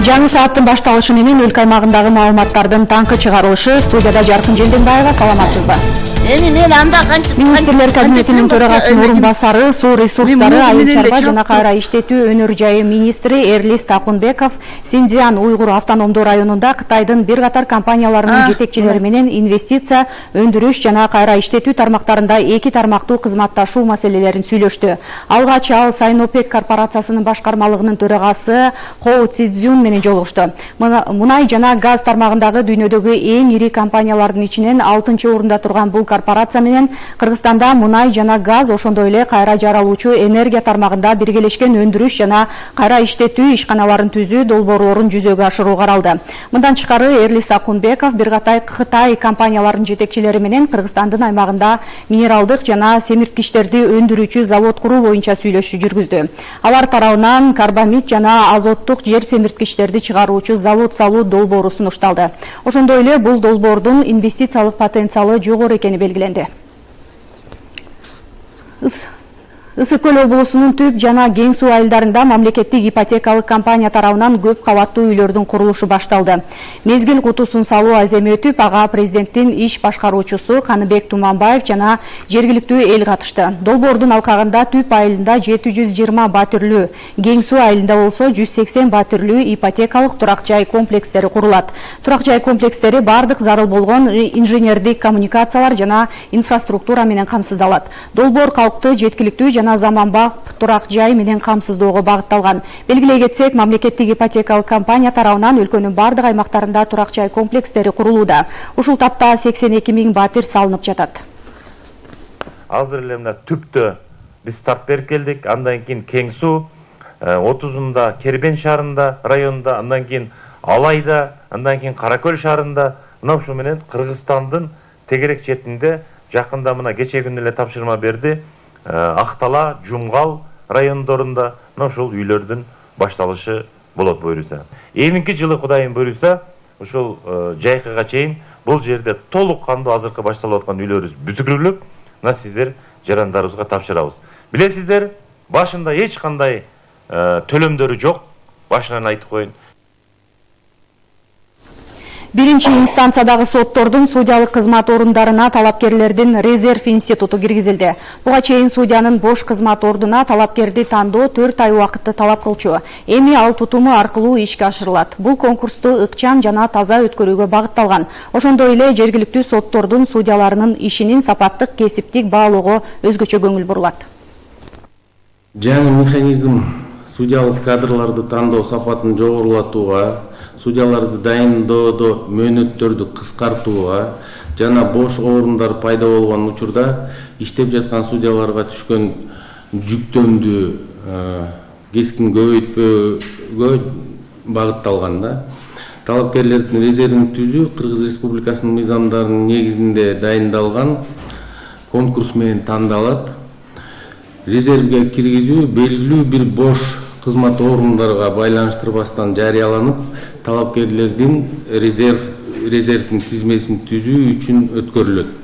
Жаңы сааттын башталышы менен өлкө аймагындагы маалыматтардын таңкы чыгарылышы. Студияда Жаркын Желденбаева, саламатсызбы? Министрлер кабинетинин төрагасынын орун басары, суу ресурстары, айыл чарба жана кайра иштетүү өнөр жайы министри Эрлис Такунбеков Синьцзян уйгур автономдуу районунда Кытайдын бир катар компанияларынын жетекчилери менен инвестиция, өндүрүш жана кайра иштетүү тармактарында эки тармактуу кызматташуу маселелерин сүйлөштү. Алгач ал Сайнопек корпорациясынын башкармалыгынын төрагасы Хоу Цзюн менен жолугушту. Мунай жана газ тармагындагы дүйнөдөгү эң ири компаниялардын ичинен 6-орунда турган бул корпорация менен Кыргызстанда мунай жана газ, ошондой эле кайра жаралуучу энергия тармагында биргелешкен өндүрүш жана кайра иштетүү ишканаларын түзүү долбоорлорун жүзөгө ашыруу каралды. Мындан тышкары Эрлис Такунбеков бир катай Кытай компанияларынын жетекчилери менен Кыргызстандын аймагында минералдык жана семирткичтерди өндүрүүчү завод куруу боюнча сүйлөшүү жүргүздү. Алар тарабынан карбамид жана азоттук жер семирткичтерди чыгаруучу завод салуу долбоору сунушталды. Ошондой эле бул долбоордун инвестициялык потенциалы жогору экени белгиленди. Ысык Көл облусунун Түп жана Кең суу айылдарында мамлекеттик ипотекалык компания тарабынан көп кабаттуу үйлөрдүн курулушу башталды. Мезгил кутусун салуу аземи өтүп, ага президенттин иш башкаруучусу Каныбек Туманбаев жана жергиликтүү эл катышты. Долбоордун алкагында Түп айылында 720 батирлүү, Кең суу айылында болсо 180 батирлүү ипотекалык турак жай комплекстери курулат. Турак жай комплекстери бардык зарыл болгон инженердик коммуникациялар жана инфраструктура менен камсыздалат. Долбоор калкты жеткиликтүү жана заманбап турак жай менен камсыздоого багытталган. Белгилей кетсек, мамлекеттик ипотекалык компания тарабынан өлкөнүн бардык аймактарында турак жай комплекстери курулууда. Ушул тапта 82 000 батир салынып жатат. Азыр эле мына Түптө биз старт берип келдик. Андан кийин Кең суу, 30-ында Кербен шаарында, районунда, андан кийин Алайда, андан кийин Кара Көл шаарында, мына ушу менен Кыргызстандын тегерек четинде жакында мына кече күнү эле тапшырма берди. Актала, Жумгал райондорунда ушул үйлөрдүн башталышы болот буюрса. Эминки жылы Кудайым буюрса, ушул жайкыга чейин бул жерде толук кандуу азыркы башталып аткан үйлөрүбүз бүтүрүлүп, мына сиздер жарандарыбызга тапшырабыз. Билесиздер, башында эч кандай төлөмдөрү жок. Башынан айтып коеюн. Биринчи инстанциядагы соттордун судьялык кызмат орундарына талапкерлердин резерв институту киргизилди. Буга чейин судьянын бош кызмат ордуна талапкерди тандоо 4 ай убакытты талап кылчу. Эми ал тутуму аркылуу ишке ашырылат. Бул конкурсту ыкчам жана таза өткөрүүгө багытталган. Ошондой эле жергиликтүү соттордун судьяларынын ишинин сапаттык, кесиптик баалоого өзгөчө көңүл бурулат. Жаңы механизм судьялык кадрларды тандоо сапатын жогорулатууга, судьяларды дайындоодо мөөнөттөрдү кыскартууга жана бош орундар пайда болгон учурда иштеп жаткан судьяларга түшкөн жүктөмдү кескин көбөйтпөөгө багытталган да. Талапкерлердин резервин түзүү Кыргыз Республикасынын мыйзамдарынын негизинде дайындалган конкурс менен тандалат. Резервге киргизүү белгилүү бир бош кызмат орундарга байланыштырбастан жарыяланып, талапкерлердин резервдин тизмесин түзүү үчүн өткөрүлөт.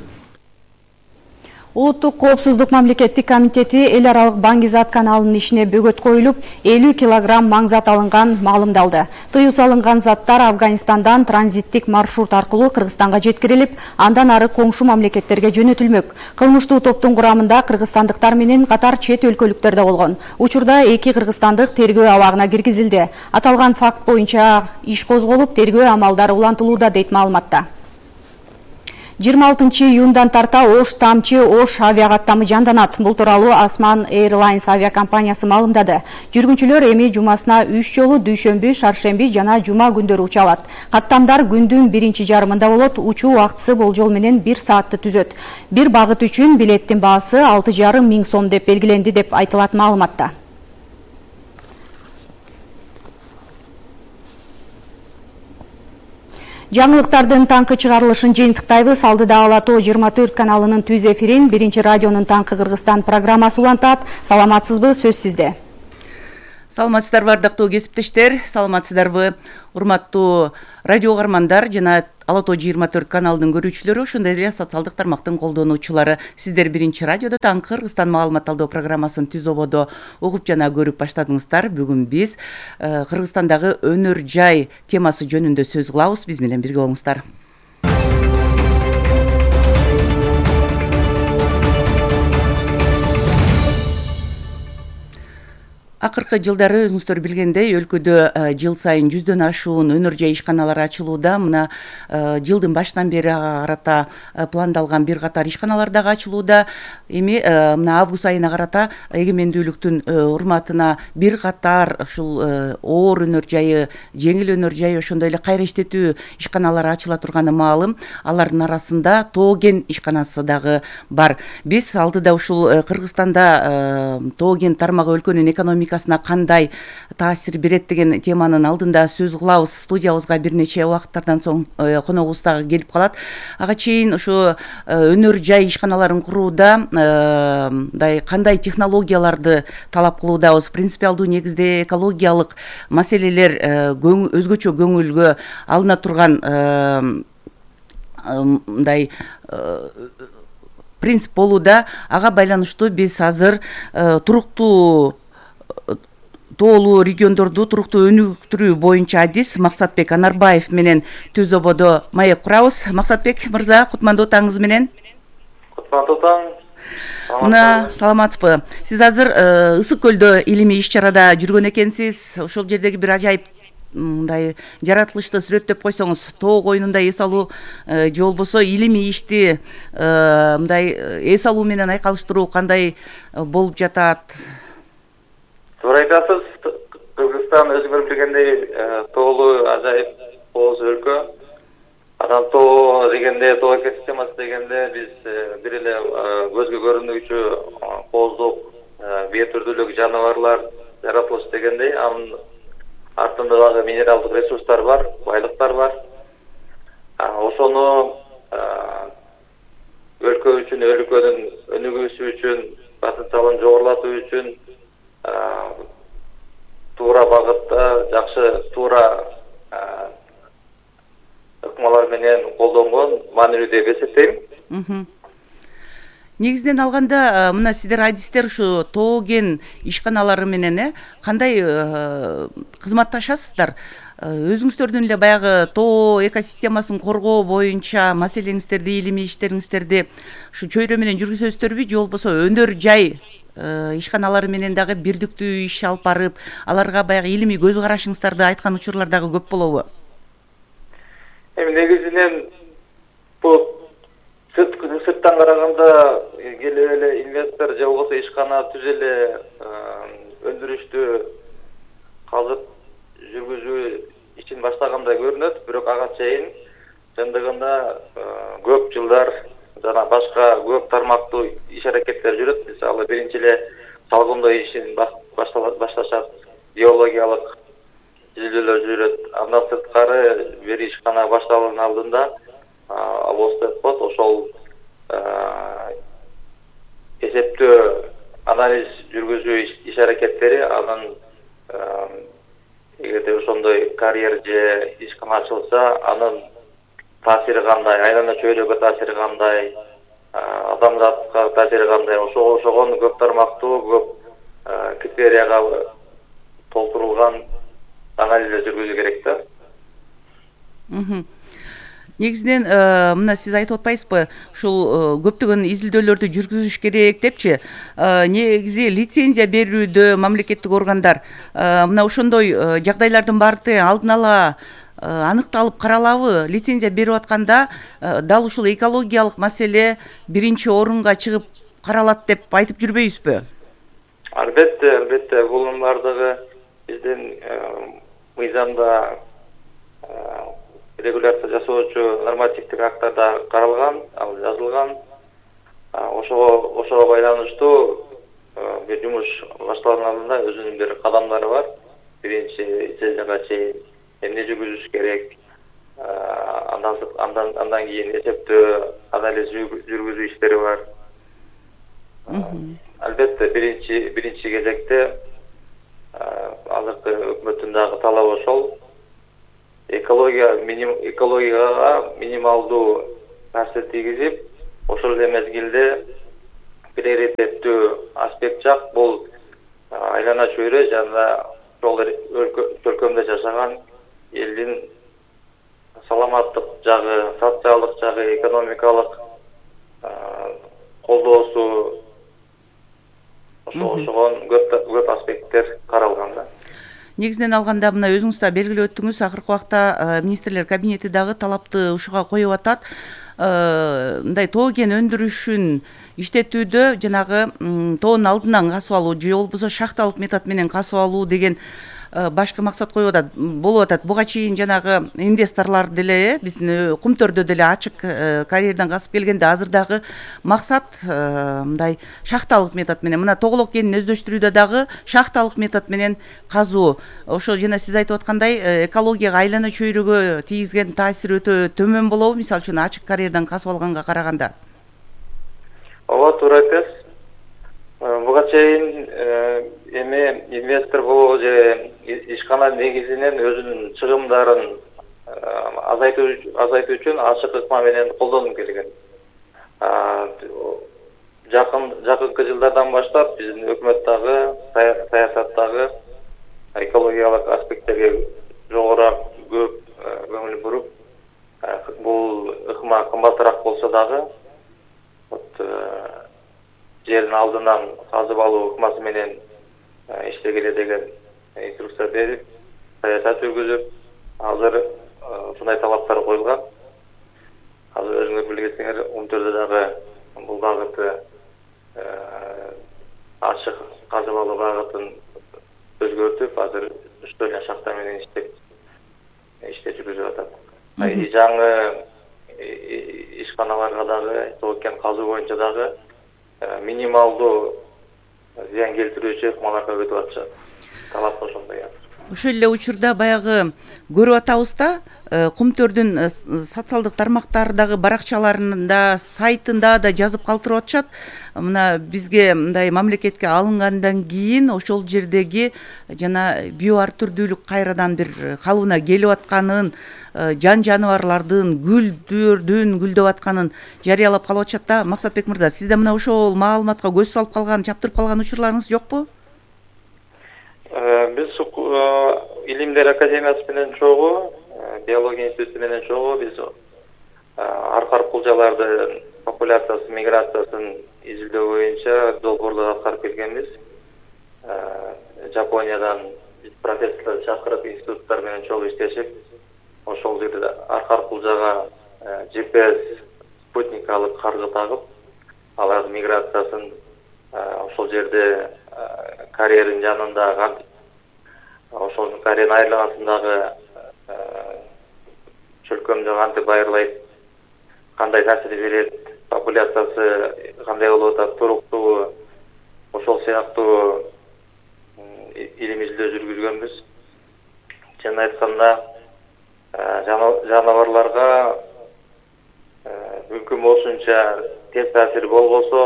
Улуттук коопсуздук мамлекеттик комитети эл аралык Баңгизат каналынын ишине бөгөт коюлуп, 50 килограмм маңзат алынган маалымдалды. Тыюу салынган заттар Афганистандан транзиттик маршрут аркылуу Кыргызстанга жеткирилип, андан ары коңшу мамлекеттерге жөнөтүлмөк. Кылмыштуу топтун курамында кыргызстандыктар менен катар чет өлкөлүктөр да болгон. Учурда 2 кыргызстандык тергөө абагына киргизилди. Аталган факт боюнча иш козголуп, тергөө амалдары улантылууда, дейт маалыматта. 26 июндан тарта Ош Тамчы Ош авиакаттамы жанданат. Бул тууралуу Осман Airlines авиакомпаниясы маалымдады. Жүргүнчүлөр эми жумасына 3 жолу дүйшөмбү, шаршемби жана жума күндөрү уча алат. Каттамдар күндүн биринчи жарымында болот. Учуу убактысы болжол менен 1 саатты түзөт. Бир багыт үчүн билеттин баасы 6,5 миң сом деп белгиленди деп айтылат маалыматта. Жаңылыктардын таңкы чыгарылышын жыйынтыктайбыз. Алдыда Ала Тоо 24 каналынын түз эфирин Биринчи радионун Таңкы Кыргызстан программасы улантат. Саламатсызбы, сөз сизде. Саламатсыздарбы ардактуу кесиптештер, саламатсыздарбы урматтуу радио угармандар жана Ала Тоо 24 каналынын көрүүчүлөрү, ошондой эле социалдык тармактын колдонуучулары. Сиздер биринчи радиодо таңкы Кыргызстан маалымат алуу программасын түз ободо угуп жана көрүп баштадыңыздар. Бүгүн биз Кыргызстандагы өнөр жай темасы жөнүндө сөз кылабыз. Биз менен бирге болуңуздар. Акыркы жылдары өзүңүздөр билгендей, өлкөдө жыл сайын 100дөн ашуун өнөр жай ишканалары ачылууда. Мына жылдын башынан бери карата пландалган бир катар ишканалар дагы ачылууда. Эми мына август айына карата эгемендүүлүктүн урматына бир катар ушул оор өнөр жайы, жеңил өнөр жайы, ошондой эле кайра иштетүү ишканалары ачыла турганы маалым. Алардын арасында Тооген ишканасы дагы бар. Биз алдыда ушул Кыргызстанда Тооген тармагы өлкөнүн экономикасына кандай таасир берет деген теманын алдында сөз кылабыз. Студиябызга бир нече убакыттардан соң коногубуз дагы келип калат. Ага чейин ушу өнөр жай ишканаларын курууда мындай кандай технологияларды талап кылуудабыз? Принципиалдуу негизде экологиялык маселелер өзгөчө көңүлгө алына турган мындай принцип болууда. Ага байланыштуу биз азыр туруктуу тоолуу региондорду туруктуу өнүктүрүү боюнча адис Максатбек Анарбаев менен түз ободо маек курабыз. Максатбек мырза, кутмандуу таңыңыз менен. Кутмандуу таң. Мына саламатсызбы? Сиз азыр Ысык көлдө илимий иш-чарада жүргөн экенсиз. Ошол жердеги бир ажайып мындай жаратылышты сүрөттөп койсоңуз, тоо коюнунда эс алуу же болбосо илимий ишти мындай эс алуу менен айкалыштыруу кандай болуп жатат? Туура айтасыз. Кыргызстан өзүңөр билгендей тоолуу ажайып кооз өлкө. Анан тоо дегенде, тоо экосистемасы дегенде биз бир эле көзгө көрүнүүчү кооздук, бир түрдүүлүк жаныбарлар жаратылыш дегендей, анын артында дагы минералдык ресурстар бар, байлыктар бар. Ошону өлкө үчүн, өлкөнүн өнүгүүсү үчүн, потенциалын жогорулатуу үчүн туура багытта, жакшы туура ыкмалар менен колдонгон маанилүү деп эсептейм. Негизинен алганда, мына сиздер адистер ушу Тооген ишканалары менен кандай кызматташасыздар? Өзүңүздөрдүн эле баягы тоо экосистемасын коргоо боюнча маселеңиздерди, илимий иштериңиздерди ушу чөйрө менен жүргүзөсүздөрбү же болбосо өнөр жай ишканалары менен дагы бирдиктүү иш алып барып, аларга баягы илимий көз карашыңыздарды айткан учурлар дагы көп болобу? Эми негизинен бул сырттан караганда келип эле инвестор же болбосо ишкана түз эле өндүрүштү казып жүргүзүү ишин баштагандай көрүнөт, бирок ага чейин чындыгында көп жылдар жана башка көп тармактуу иш аракеттер жүрөт. Мисалы, биринчи эле салгындоо ишин башташат, геологиялык изилдөөлөр жүрөт. Андан сырткары бир ишкана башталуунун алдында АВОС деп коет, ошол эсептөө, анализ жүргүзүү иш аракеттери, анын эгерде ошондой карьер же ишкана ачылса, анын таасири кандай, айлана чөйрөгө таасири кандай, адамзатка таасири кандай, ошогон көп тармактуу, көп критерияга толтурулган анализ жүргүзүү керек да. Негизинен мына сиз айтып атпайсызбы, ушул көптөгөн изилдөөлөрдү жүргүзүш керек депчи. Негизи лицензия берүүдө мамлекеттик органдар мына ошондой жагдайлардын баарды алдын ала аныкталып каралабы? Лицензия берип атканда дал ушул экологиялык маселе биринчи орунга чыгып каралат деп айтып жүрбөйбүзбү? Албетте, бунун бардыгы биздин мыйзамда регуляция жасоочу нормативдик акттарда каралган, ал жазылган. Ошого байланыштуу бир жумуш башталган алдында өзүнүн бир кадамдары бар. Биринчи лицензияга чейин эмне жүргүзүш керек, андан кийин эсептөө, анализ жүргүзүү иштери бар. Албетте биринчи кезекте азыркы өкмөттүн дагы талабы ошол. Экологияга минималдуу таасир тийгизип, ошол эле мезгилде приоритеттүү аспект жак бул айлана чөйрө жана ошол өлкөмдө жашаган элдин саламаттык жагы, социалдык жагы, экономикалык колдоосу ошогон көп аспекттер каралган да. Негизинен алганда мына өзүңүз да белгилеп өттүңүз, акыркы убакта министрлер кабинети дагы талапты ушуга коюп атат. Мындай тоо кен өндүрүшүн иштетүүдө жанагы тоонун алдынан касып алуу же болбосо шахталык метод менен касып алуу деген башкы максат коюп атат, болуп атат. Буга чейин жанагы инвесторлор деле биздин Кумтөрдө деле ачык карьерден касып келгенде, азыр дагы максат мындай шахталык метод менен, мына тоголок кенин өздөштүрүүдө дагы шахталык метод менен казуу. Ошо жана сиз айтып аткандай экологияга, айлана чөйрөгө тийгизген таасири өтө төмөн болобу, мисалы үчүн ачык карьерден касып алганга караганда? Ооба, туура айтасыз. Буга чейин эми инвестор болобу же ишкана негизинен өзүнүн чыгымдарын азайтуу үчүн ачык ыкма менен колдонуп келген. Жакынкы жылдардан баштап биздин өкмөт дагы, саясат дагы экологиялык аспекттерге жогору көп көңүл буруп, бул ыкма кымбатыраак болсо дагы жердин алдынан казып алуу ыкмасы менен иштегиле деген инструкция берип, саясат жүргүзүп, азыр ушундай талаптар коюлган. Азыр өзүңөр билесиңер, Кумтөрдө дагы бул багыты ачык казып алуу багытын өзгөртүп, азыр 3 шахта менен иште жүргүзүп атат. Жаңы ишканаларга дагы тоо кен казуу боюнча дагы минималдуу зыян келтирүүчү ыкмаларга өтүп атышат. Талап ошондой. Ошол эле учурда баягы көрүп атабыз да, Кумтөрдүн социалдык тармактардагы баракчаларында, сайтында да жазып калтырып атышат. Мына бизге мындай мамлекетке алынгандан кийин ошол жердеги жана био ар түрдүүлүк кайрадан бир калыбына келип атканын, жан жаныбарлардын гүлдөрдүн гүлдөп атканын жарыялап калып атышат да. Максатбек мырза, сизде мына ошол маалыматка көз салып калган, чаптырып калган учурларыңыз жокпу? Биз Илимдер академиясы менен чогуу, биология институту менен чогуу биз аркар кулжалардын популяциясы, миграциясын изилдөө боюнча долбоорлор аткарып келгенбиз. Жапониядан профессорлор чакырып, институттар менен чогуу иштешип, ошол жерде аркар кулжага GPS спутник алып каргы тагып, алардын миграциясын ошол жерде карьердин жанында, ошол карьердин айланасындагы чөлкөмдү кантип байырлайт, кандай таасир берет, популяциясы кандай болуп атат, туруктугу, ошол сыяктуу илим изилдөө жүргүзгөнбүз. Чын айтканда, жаныбарларга мүмкүн болушунча терс таасир болбосо,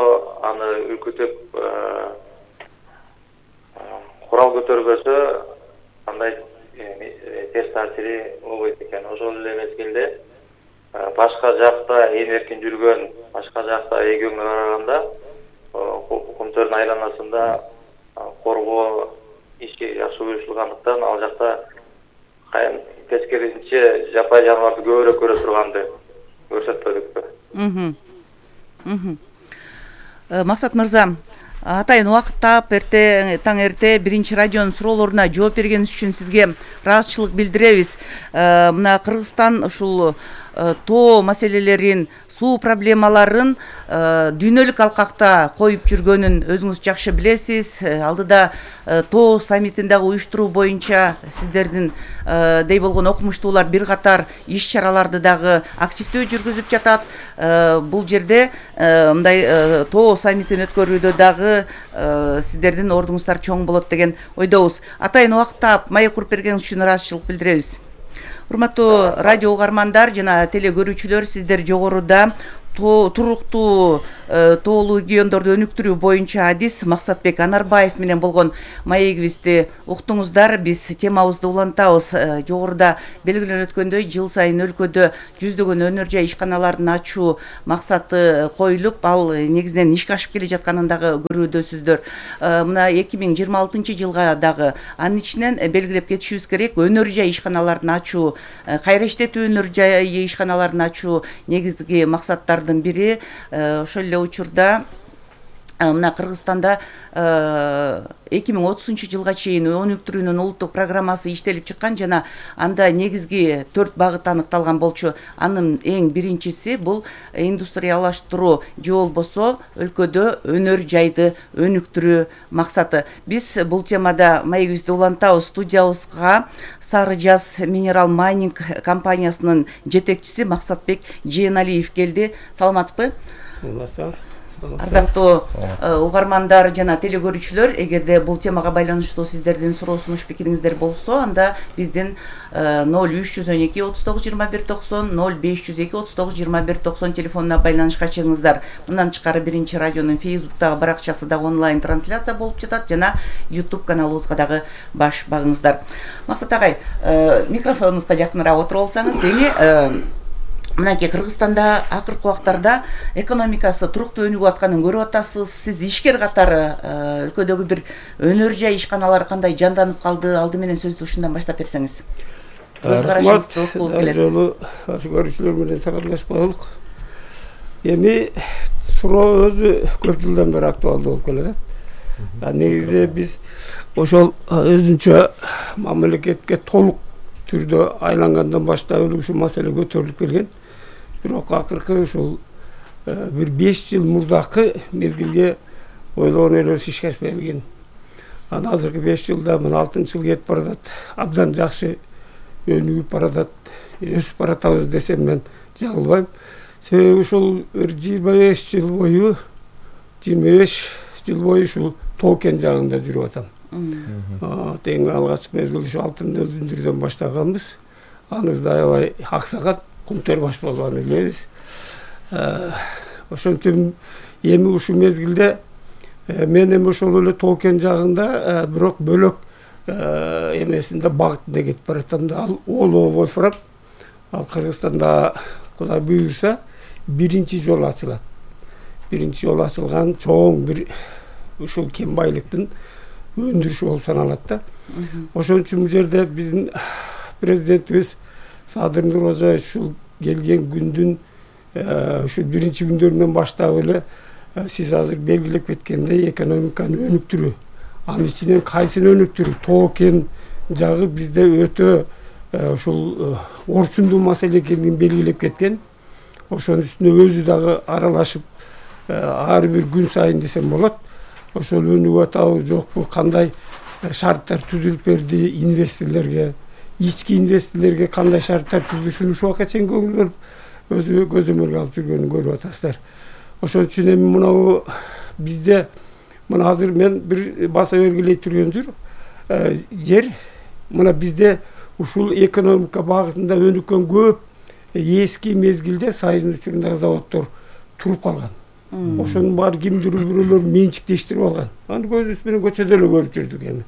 аны үркүтүп курал көтөрбөсө, андай терс таасири болбойт экен. Ошол эле мезгилде башка жакта эркин жүргөн, башка жакта эгөңгө караганда Кумтөрдүн айланасында коргоо иши жакшы уюштурулгандыктан, ал жакта тескерисинче жапай жаныбарды көбүрөөк көрө турганды көрсөтпөдүкпү. Максат мырза, атайын убакыт таап, таң эрте биринчи радионун суроолоруна жооп бергениңиз үчүн сизге ыраазычылык билдиребиз. Мына Кыргызстан ушул тоо маселелерин, суу проблемаларын дүйнөлүк алкакта коюп жүргөнүн өзүңүз жакшы билесиз. Алдыда тоо саммитин дагы уюштуруу боюнча сиздердин дей болгон окумуштуулар бир катар иш чараларды дагы активдүү жүргүзүп жатат. Бул жерде мындай тоо саммитин өткөрүүдө дагы сиздердин ордуңуздар чоң болот деген ойдобуз. Атайын убакыт таап, маек куруп бергениңиз үчүн ыраазычылык билдиребиз. Урматтуу радио угармандар жана теле көрүүчүлөр, сиздер жогоруда туруктуу тоолуу региондорду өнүктүрүү боюнча адис Максатбек Анарбаев менен болгон маегибизди уктуңуздар. Биз темабызды улантабыз. Жогоруда белгиленип өткөндөй, жыл сайын өлкөдө жүздөгөн өнөр жай ишканаларын ачуу максаты коюлуп, ал негизинен ишке ашып келе жатканын дагы көрүүдөсүздөр. Мына 2026 жылга дагы анын ичинен белгилеп кетишибиз керек, өнөр жай ишканаларын ачуу, кайра иштетүү өнөр жай ишканаларын ачуу негизги максаттардын бири. Ошол эле учурда мына Кыргызстанда 2030 жылга чейин өнүктүрүүнүн улуттук программасы иштелип чыккан жана анда негизги 4 багыт аныкталган болчу. Анын эң биринчиси бул индустриялаштыруу же болбосо өлкөдө өнөр жайды өнүктүрүү максаты. Биз бул темада маегибизди улантабыз. Студиябызга Сары Жаз Минерал Майнинг компаниясынын жетекчиси Максатбек Жээналиев келди. Саламатсызбы? Саламатсыздар. Ардактуу угармандар жана телекөрүүчүлөр, эгерде бул темага байланыштуу сиздердин суроо сунуш пикириңиздер болсо, анда биздин 0312 39 21 90 0502 39 21 90 телефонуна байланышка чыгыңыздар. Мындан тышкары биринчи радионун Facebook'тагы баракчасы дагы онлайн трансляция болуп жатат жана YouTube каналыбызга дагы баш багыңыздар. Максат агай, микрофонуңузга жакыныраак отуруп алсаңыз, эми мынакей Кыргызстанда акыркы убактарда экономикасы туруктуу өнүгүп атканын көрүп атасыз. Сиз ишкер катары өлкөдөгү бир өнөр жай ишканалар кандай жанданып калды? Алды менен сөздү ушундан баштап берсеңиз. Көз карашыңызды окугубуз келет. Жолу көрүүчүлөр менен саламдашып коелук. Эми суроо өзү көп жылдан бери актуалдуу болуп келатат. Негизи биз ошол өзүнчө мамлекетке толук түрдө айлангандан баштап ушул маселе көтөрүлүп келген. Бирок акыркы ушул бир 5 жыл мурдакы мезгилге ойлогон элебиз ишке ашпай келген. Анан азыркы 5 жылда мына 6 жыл кетип баратат. Абдан жакшы өнүгүп баратат, өсүп баратабыз десем мен жаңылбайм. Себеби ушул 25 жыл бою ушул Тоо-Кен жагында жүрүп атам. Тең алгачкы мезгилде ушу алтын өндүрүүдөн баштаганбыз. Аныбызда аябай аксагат, кумтөр баш болгон элебиз. Ошентип эми ушул мезгилде мен эми ошол эле Тоо-Кен жагында бирок бөлөк эмесинде багытында кетип баратам да, ал Олоо Вольфрам. Ал Кыргызстанда Кудай буйрса биринчи жолу ачылат. Биринчи жолу ачылган чоң бир ушул кен байлыктын өндүрүшү болуп саналат да. Ошон үчүн бул жерде биздин президентибиз Садыр Нуркожоевич ушул келген күндүн ушул биринчи күндөрүнөн баштап эле сиз азыр белгилеп кеткендей экономиканы өнүктүрүү. Анын ичинен кайсын өнүктүрүү? Тоо-Кен жагы бизде өтө ушул орчундуу маселе экенин белгилеп кеткен. Ошонун үстүнө өзү дагы аралашып ар бир күн сайын десем болот. Ошол өнүгүп атабы жокпу, кандай шарттар түзүлүп берди инвесторлорго, ички инвесторлорго кандай шарттар түзүлүшүн ушул убакка чейин көңүл бөлүп өзү көзөмөлгө алып жүргөнүн көрүп атасыздар. Ошон үчүн эми мына бизде мына азыр мен бир баса белгилей турган жер мына бизде ушул экономика багытында өнүккөн көп эски мезгилде Сайын учурундагы заводдор туруп калган. Ошонун баары кимдир бирөөлөр менчиктештирип алган. Аны көзүбүз менен көчөдө эле көрүп жүрдүк эми.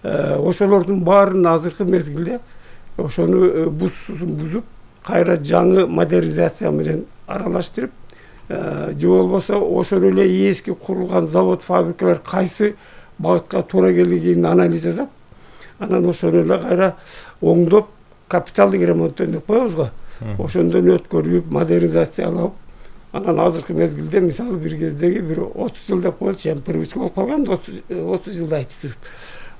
Ошолордун баарын азыркы мезгилде ошону бузуп, кайра жаңы модернизация менен аралаштырып, же болбосо ошол эле эски курулган завод, фабрикалар кайсы багытка туура келгенин анализ жасап, анан ошону эле кайра оңдоп, капиталдык ремонттон деп коебуз го. Ошондон өткөрүп, модернизациялап, анан азыркы мезгилде мисалы бир кездеги бир 30 жыл деп коелучу, эми привычка болуп калган, 30 жылды айтып жүрүп.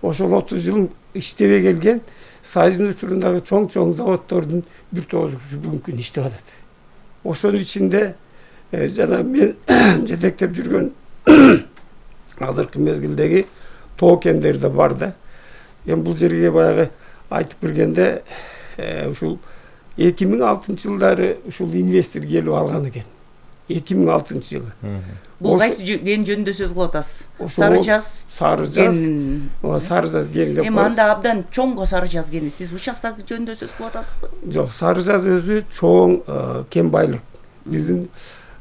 Ошол 30 жыл иштебей келген Сайын учурундагы чоң заводдордун бир тогузу бүгүнкү иштеп атат. Ошонун ичинде жана мен жетектеп жүргөн азыркы мезгилдеги Тоо-Кендер да бар да. Эми бул жерге баягы айтып бергенде ушул 2006 жылдары ушул инвестор келип алган экен. 2006 жылы. Бул кайсы кен жөнүндө сөз кылып атасыз? Сары Жаз. Сары Жаз кен деп. Эми анда абдан чоңго Сары Жаз кени. Сиз участок жөнүндө сөз кылып атасызбы? Жок, Сары Жаз өзү чоң кен байлык. биздин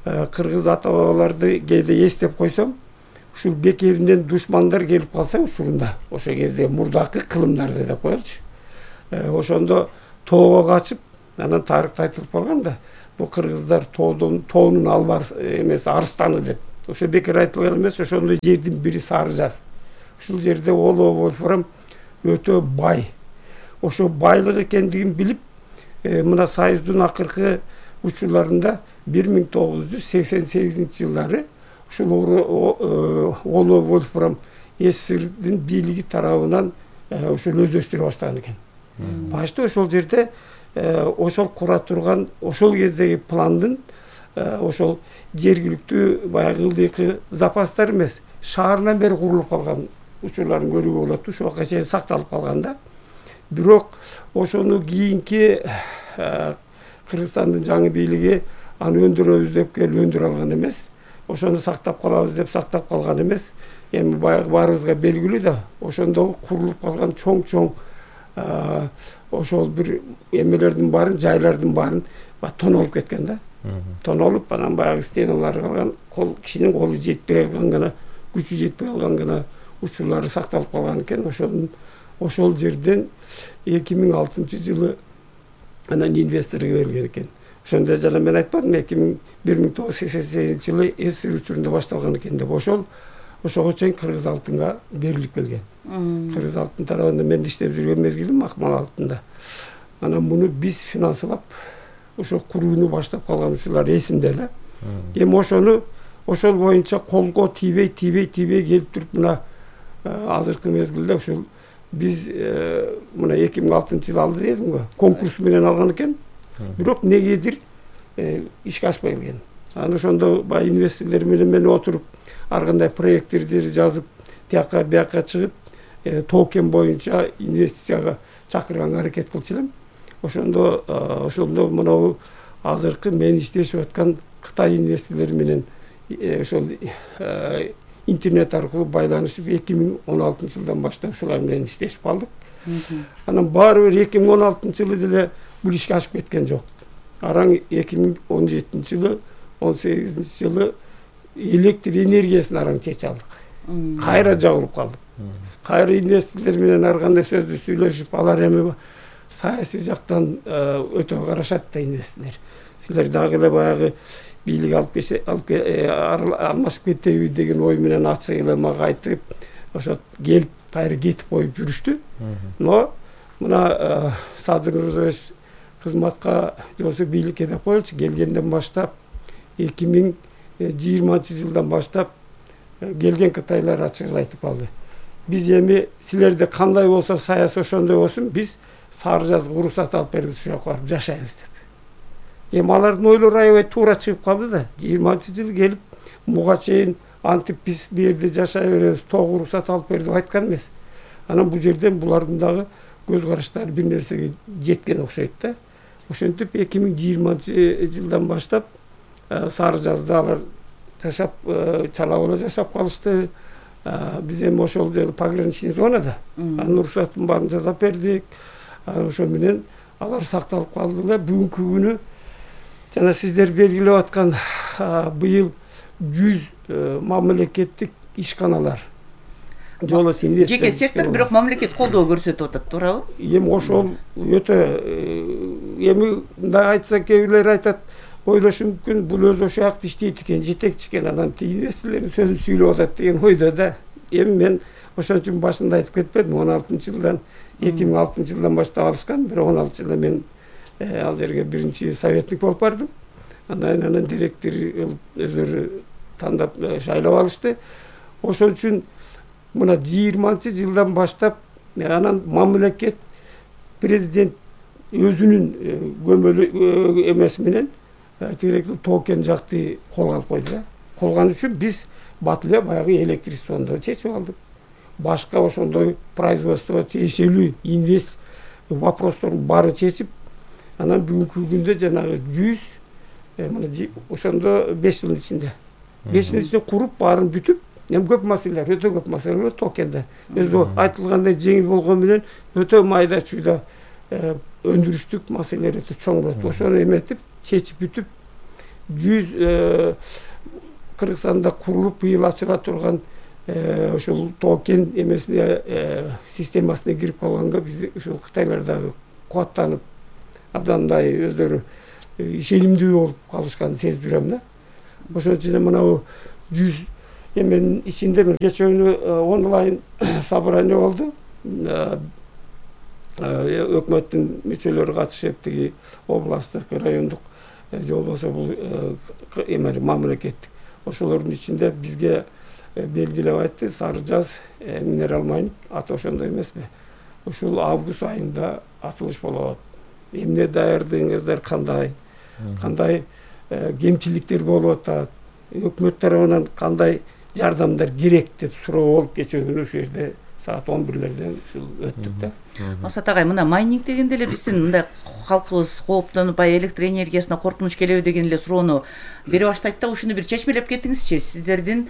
кыргыз ата бабаларды кээде эстеп койсом, ушул бекеринен душмандар келип калса учурунда, ошол кезде мурдакы кылымдарды деп коелучу. Ошондо тоого качып, анан тарыхта айтылып калган да, бул кыргыздар тоонун албар эмес арстаны деп. Ошо бекер айтылган эмес, ошондой жердин бири Сары Жаз. Ушул жерде Олоо Вольфрам өтө бай. Ошо байлык экендигин билип, мына Союздун акыркы учурларында 1988-жылдары ушул Олоо Вольфрам СССРдин бийлиги тарабынан ошол өздөштүрө баштаган экен. Башта ошол жерде ошол кура турган ошол кездеги пландын ошол жергиликтүү баягы ылдыйкы запастар эмес, шаарынан бери курулуп калган учурларын көрүүгө болот. Ошого чейин сакталып калган да. Бирок ошону кийинки Кыргызстандын жаңы бийлиги аны өндүрөбүз деп келип өндүрө алган эмес. Ошону сактап калабыз деп сактап калган эмес. Эми баягы баарыбызга белгилүү да, ошондо курулуп калган чоң ошол бир эмелердин баарын, жайлардын баарын тонолуп кеткен да. Тонолуп, анан баягы стеналары калган, кишинин колу жетпей калган гана, күчү жетпей калган гана учурлары сакталып калган экен. Ошол жерден 2006-жылы анан инвесторго берилген экен. Ошондо жана мен айтпадым, 1988-жылы СССР учурунда башталган экен деп. Ошого чейин Кыргыз алтынга берилип келген. Кыргыз алтын тарабында мен иштеп жүргөн мезгилим Акмал алтында. Анан муну биз финансылап, ошо курууну баштап калган учурлар эсимде эле. Эми ошол боюнча колго тийбей келип туруп, мына азыркы мезгилде ушул биз мына 2006-жылы алды дедим го, конкурс менен алган экен. Бирок негедир ишке ашпай келген. Анан ошондо баягы инвесторлор менен отуруп, ар кандай проекттерди жазып, тияка бияка чыгып, токен боюнча инвестицияга чакырганга аракет кылчу элем. Ошондо мынау азыркы мен иштешип аткан Кытай инвесторлору менен ошол интернет аркылуу байланышып 2016-жылдан баштап ушулар менен иштешип калдык. Анан баары бир 2016-жылы деле бул ишке ашып кеткен жок. Араң 2017-жылы, 18-жылы электр энергиясын араң чечип алдык. Кайра жабылып калдык. Кайра инвесторлор менен ар кандай сөздү сүйлөшүп, алар эми саясий жактан өтө карашат да инвесторлор. Силер дагы эле баягы бийлик алмашып кетеби деген ой менен ачык эле мага айтып, ошо келип кайра кетип коюп жүрүштү. Но мына Садыр Нурзоевич кызматка жосу бийликке деп коелучу, келгенден баштап 2020-жылдан баштап келген кытайлар ачык эле айтып калды. Биз эми силерде кандай болсо саясий ошондой болсун, биз Сары Жазга уруксат алып бериңиз, ошол жака барып жашайбыз деп. Эми алардын ойлору аябай туура чыгып калды да. 20-жылы келип буга чейин антип биз бу жерде жашай беребиз, тоого уруксат алып бер деп айткан эмес. Анан бул жерден булардын дагы көз караштары бир нерсеге жеткен окшойт да. Ошентип 2020-жылдан баштап Сары Жазда алар жашап, чала бола жашап калышты. Биз эми ошол жолу пограничный зонада анын уруксатын баарын жасап бердик. Ошо менен алар сакталып калды эле. Бүгүнкү күнү жана сиздер белгилеп аткан быйыл 100 мамлекеттик ишканалар жолос инвестиция. Жеке сектор, бирок мамлекет колдоо көрсөтүп атат, туурабы? Эми ошол өтө эми мындай айтса кээ бирлер айтат, ойлошу мүмкүн бул өзү ошол жакта иштейт экен, жетекчи экен, анан инвесторлордун сөзүн сүйлөп атат деген ойдо да. Эми мен ошон үчүн башында айтып кетпедим, 16-жылдан 2006-жылдан баштап алышкан, бирок 16-жылда мен ал жерге биринчи советник болуп бардым. Анан директор өзүлөрү тандап шайлап алышты. Ошон үчүн мына 20-жылдан баштап анан мамлекет президент өзүнүн көмөлү эмеси менен тиректүү токен жакты колго алып койду. Колгон үчүн биз бат эле баягы электричествону чечип алдык. Башка ошондой производство тиешелүү инвест вопростордун баарын чечип, анан бүгүнкү күндө жанагы 100 мына ошондо 5 жылдын ичинде 5 жылдын ичинде куруп баарын бүтүп, эми көп маселелер, өтө көп маселелер токенде. Өзү айтылгандай жеңил болгон менен өтө майда чүйдө өндүрүштүк маселелер өтө чоң болот. Ошону эметип, чечип бүтүп, 100 Кыргызстанда курулуп быйыл ачыла турган ошол токен эмесине системасына кирип калганга биз ушул кытайлар дагы кубаттанып абдан мындай өздөрү ишенимдүү болуп калышканын сезип жүрөм да. Ошон үчүн мынабу 100 эменин ичинде кечээ онлайн собрание болду. Өкмөттүн мүчөлөрү катышып, тиги областтык, райондук же болбосо бул мамлекеттик. Ошолордун ичинде бизге белгилеп айтты, Сары Жаз минерал майнинг аты ошондой эмеспи? Ушул август айында ачылыш болот. Эмне даярдыгыңыздар кандай? Кандай кемчиликтер болуп атат? Өкмөт тарабынан кандай жардамдар керек деп суроо болуп кечээ күнү ушул жерде саат 11-лерден ушул өттүк да. Масат агай, мына майнинг дегенде эле биздин мындай калкыбыз кооптонуп, электр энергиясына коркунуч келеби деген эле суроону бере баштайт да, ушуну бир чечмелеп кетиңизчи. Сиздердин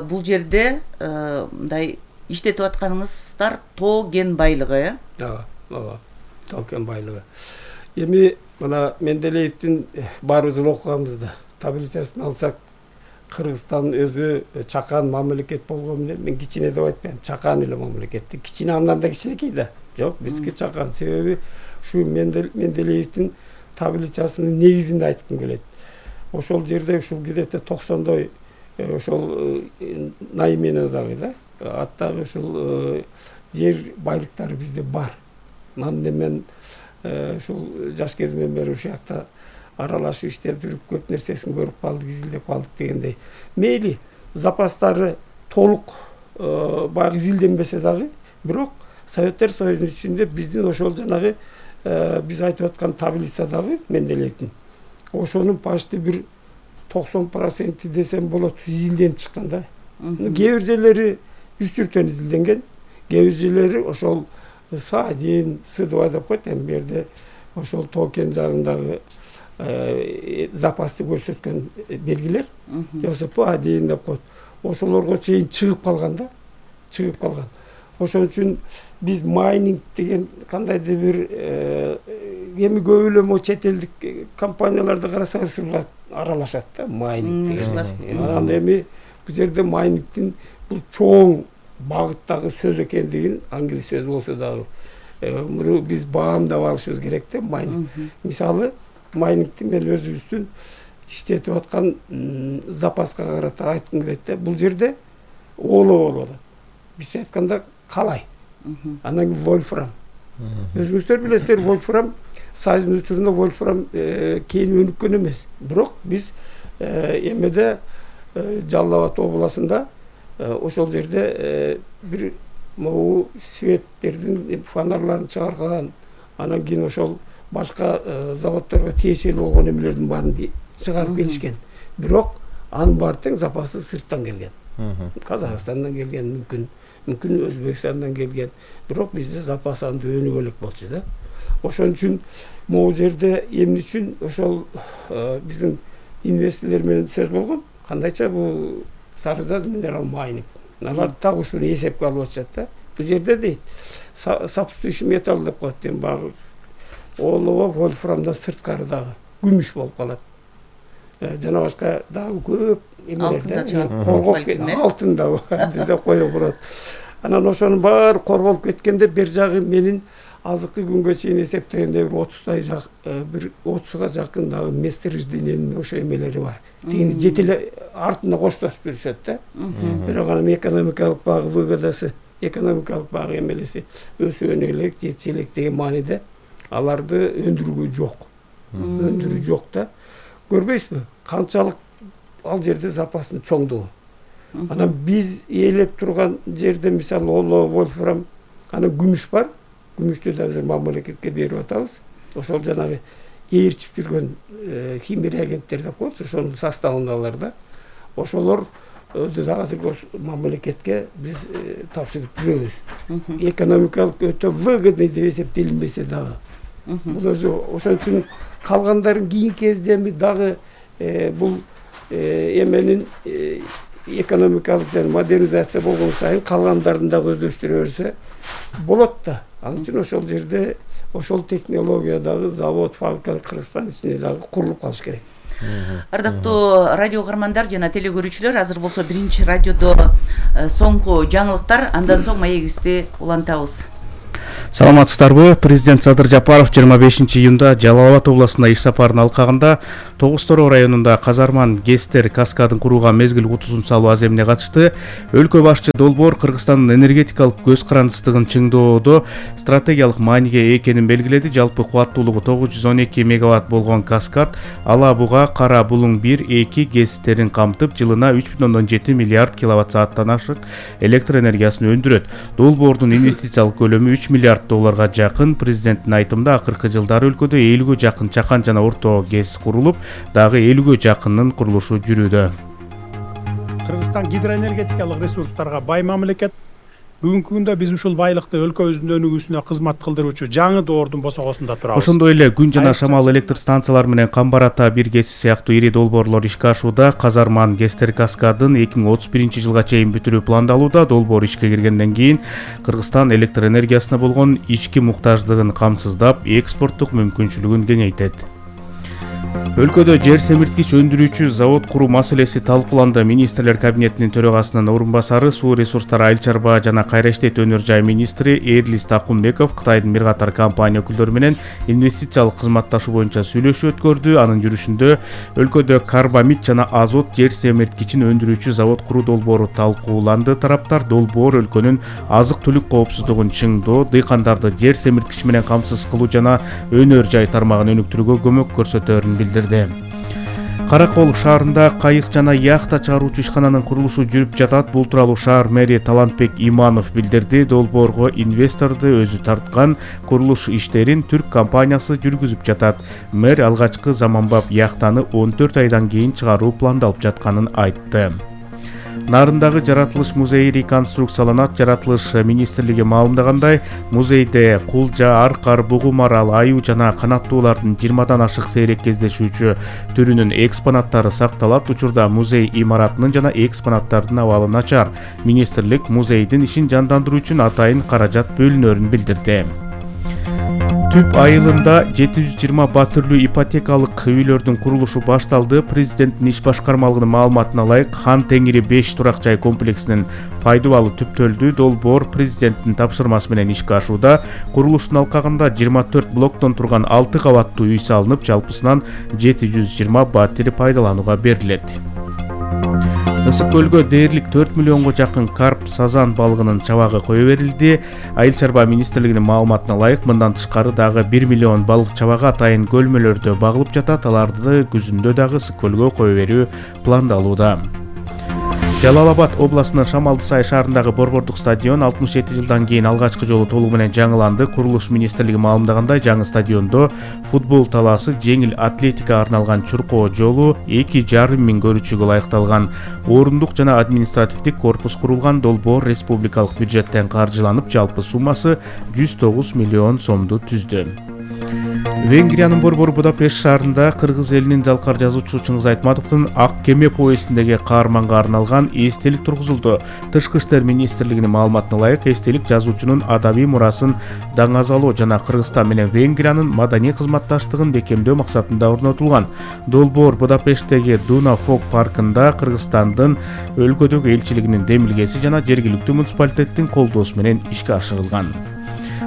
бул жерде мындай иштетип атканыңыздар тоо кен байлыгы, ооба, тоо кен байлыгы. Эми мына Менделеевдин баарыбыз окуганбыз да. Таблицасын алсак, Кыргызстан өзү чакан мамлекет болгон менен, мен кичине деп айтпайм, чакан эле мамлекет. Кичине андан да кичинекей да. Жок, биздики чакан. Себеби ушу Менделеевдин таблицасынын негизинде айткым келет. Ошол жерде ушул где-то 90-дой ошол наймене дагы да, аттагы ушул жер байлыктары бизде бар. Мен ушул жаш кезимден бери ушул жакта аралашып иштеп жүрүп көп нерсесин көрүп калдык, изилдеп калдык дегендей. Мейли запастары толук баягы изилденбесе дагы, бирок Советтер Союзунун ичинде биздин ошол жанагы биз айтып аткан таблицадагы Менделеевдин ошонун почти бир 90% десем болот изилденип чыккан да. Кээ бир жерлери үстүртөн изилденген, кээ бир жерлери ошол Саадин, Сыдыбай деп коет, эми бу жерде ошол токен жагындагы запасты көрсөткөн белгилер, Жосопо Адин деп коет. Ошолорго чейин чыгып калган да, чыгып калган. Ошон үчүн биз майнинг деген кандайдыр бир эми көп эле мо чет элдик компанияларды карасак ушуга аралашат да, майнинг деген. Анан эми бул жерде майнингдин бул чоң багыттагы сөз экендигин англис сөз болсо дагы муну биз баамдап алышыбыз керек да. Майнинг мисалы, майнингди мен өзүбүздүн иштетип аткан запаска карата айткым келет да. Бул жерде олоо болуп атат. Бизче айтканда калай. Анан кийин вольфрам. Өзүңүздөр билесиздер, вольфрам Союздун учурунда вольфрам кийин өнүккөн эмес. Бирок биз эмеде Жалал Абад областында ошол жерде бир могу светтердин фонарларын чыгарган, анан кийин ошол башка заводдорго тиешелүү болгон эмелердин баарын чыгарып келишкен. Бирок анын баары тең запасы сырттан келген. Казакстандан келген, мүмкүн Өзбекстандан келген. Бирок бизде запас анды өнүгөлүк болчу да. Ошон үчүн могу жерде эмне үчүн ошол биздин инвесторлор менен сөз болгон. Кандайча бул Сары Жаз минерал майнинг. Алар так ушуну эсепке алып атышат да. Бул жерде дейт, substitution металл деп коет, эми багы олоо вольфрамда сырткары дагы күмүш болуп калат. Жана башка дагы көп эмелерде коргоп алтын да десе кое болот. Анан ошонун баары корголуп кеткенде бер жагы менин азыркы күнгө чейин эсептегенде бир 30га жакын дагы месторождениянын ошо эмелери бар. Тигини жетеле артына коштошуп жүрүшөт да. Бирок анын экономикалык багы выгодасы, экономикалык багы эмелеси өсөөнө элек, жетчү элек деген мааниде аларды өндүрүүгө жок. Өндүрүү жок да. Көрбөйсүзбү? Канчалык ал жерде запастын чоңдугу. Анан биз ээлеп турган жерде мисалы олоо, вольфрам, анан күмүш бар. Күмүштү да азыр мамлекетке берип атабыз. Ошол жанагы ээрчип жүргөн химия агенттер деп коет, ошонун составындагылар да. Ошолор да азыр мамлекетке биз тапшырып жүрөбүз. Экономикалык өтө выгодный деп эсептелинбесе дагы. Бул өзү ошон үчүн калгандарын кийинки кезде дагы бул эменин экономикалык жана модернизация болгон сайын калгандарын дагы өздөштүрө берсе болот да. Ал үчүн ошол жерде ошол технологиядагы завод, фабрика Кыргызстан ичинде дагы курулуп калыш керек. Ардактуу радио каармандар жана теле көрүүчүлөр, азыр болсо биринчи радиодо соңку жаңылыктар, андан соң маегибизди улантабыз. Саламатсыздарбы? Президент Садыр Жапаров 25-июнда Жалал Абад областына иш сапарын алкагында Тогуз-Тороо районунда Казарман ГЭСтер каскадын курууга мезгил кутусун салуу аземине катышты. Өлкө башчы долбоор Кыргызстандын энергетикалык көз карандысыздыгын чыңдоодо стратегиялык мааниге экенин белгиледи. Жалпы кубаттуулугу 912 мегаватт болгон каскад Ала Буга, Кара Булуң 1-2 ГЭСтерин камтып, жылына 3,7 миллиард киловатт сааттан ашык электр энергиясын өндүрөт. Долбоордун инвестициялык көлөмү 3 миллиард долларга жакын. Президенттин айтымында акыркы жылдары өлкөдө 50ге жакын чакан жана орто ГЭС курулуп, дагы 50ге жакынын курулушу жүрүүдө. Кыргызстан гидроэнергетикалык ресурстарга бай мамлекет. Бүгүнкү күндө биз ушул байлыкты өлкөбүздүн өнүгүүсүнө кызмат кылдыруучу жаңы доордун босогосунда турабыз. Ошондой эле күн жана шамал электр станциялары менен Камбар Ата 1 ГЭСи сыяктуу ири долбоорлор ишке ашууда. Казарман ГЭСтер каскадын 2031-жылга чейин бүтүрүү пландалууда. Долбоор ишке киргенден кийин Кыргызстан электр энергиясына болгон ички муктаждыгын камсыздап, экспорттук мүмкүнчүлүгүн кеңейтет. Өлкөдө жер семирткич өндүрүүчү завод куруу маселеси талкууланды. Министрлер кабинетинин төрагасынын орун басары, суу ресурстары, айыл чарба жана кайра иштетүү өнөр жай министри Эрлис Такунбеков Кытайдын бир катар компания өкүлдөрү менен инвестициялык кызматташуу боюнча сүйлөшүү өткөрдү. Анын жүрүшүндө өлкөдө карбамид жана азот жер семирткичин өндүрүүчү завод куруу долбоору талкууланды. Тараптар долбоор өлкөнүн азык түлүк коопсуздугун чыңдоо, дыйкандарды жер семирткич менен камсыз кылуу жана өнөр жай тармагын өнүктүрүүгө көмөк көрсөтөөрүн билдирди. Каракол шаарында кайык жана яхта чыгаруучу ишкананын курулушу жүрүп жатат. Бул тууралуу шаар мэри Талантбек Иманов билдирди. Долбоорго инвесторду өзү тарткан, курулуш иштерин түрк компаниясы жүргүзүп жатат. Мэр алгачкы заманбап яхтаны 14 айдан кийин чыгаруу пландалып жатканын айтты. Нарындагы Жаратылыш музейи реконструкцияланат. Жаратылыш министрлиги маалымдагандай, музейде кулжа, аркар, бугу марал, аюу жана канаттуулардын 20дан ашык сейрек кездешүүчү түрүнүн экспонаттары сакталат. Учурда музей имаратынын жана экспонаттардын абалы начар. Министрлик музейдин ишин жандандыруу үчүн атайын каражат бөлүнөрүн билдирди. Түп айылында 720 батүрлүү ипотекалык үйлөрдүн курулушу башталды. Президенттин иш башкармалыгынын маалыматына ылайык, Хан Теңири 5 турак жай комплексинин пайдубалы түптөлдү. Долбоор президенттин тапшырмасы менен ишке ашууда. Курулуштун алкагында 24 блоктон турган 6 кабаттуу үй салынып, жалпысынан 720 батири пайдаланууга берилет. Ысык көлгө дээрлик 4 миллионго жакын карп, сазан балыгынын чабагы кое берилди. Айыл чарба министрлигинин маалыматына ылайык, мындан тышкары дагы 1 миллион балык чабагы атайын көлмөлөрдө багылып жатат. Аларды күзүндө дагы ысык көлгө кое берүү пландалууда. Жалал Абад областынын Шамалдысай шаарындагы борбордук стадион 67 жылдан кийин алгачкы жолу толугу менен жаңыланды. Курулуш министрлиги маалымдагандай, жаңы стадиондо футбол талаасы, жеңил атлетикага арналган чуркоо жолу, 2,5 миң көрүүчүгө ылайыкталган орундук жана административдик корпус курулган. Долбоор республикалык бюджеттен каржыланып, жалпы суммасы 109 миллион сомду түздү. Венгриянын борбору Будапешт шаарында кыргыз элинин жалкар жазуучусу Чыңгыз Айтматовдун Ак кеме повестиндеги каарманга арналган эстелик тургузулду. Тышкы иштер министрлигинин маалыматына ылайык, эстелик жазуучунун адабий мурасын даңазалоо жана Кыргызстан менен Венгриянын маданий кызматташтыгын бекемдөө максатында орнотулган. Долбоор Будапешттеги Дуна Фок паркында Кыргызстандын өлкөдөгү элчилигинин демилгеси жана жергиликтүү муниципалитеттин колдоосу менен ишке ашырылган.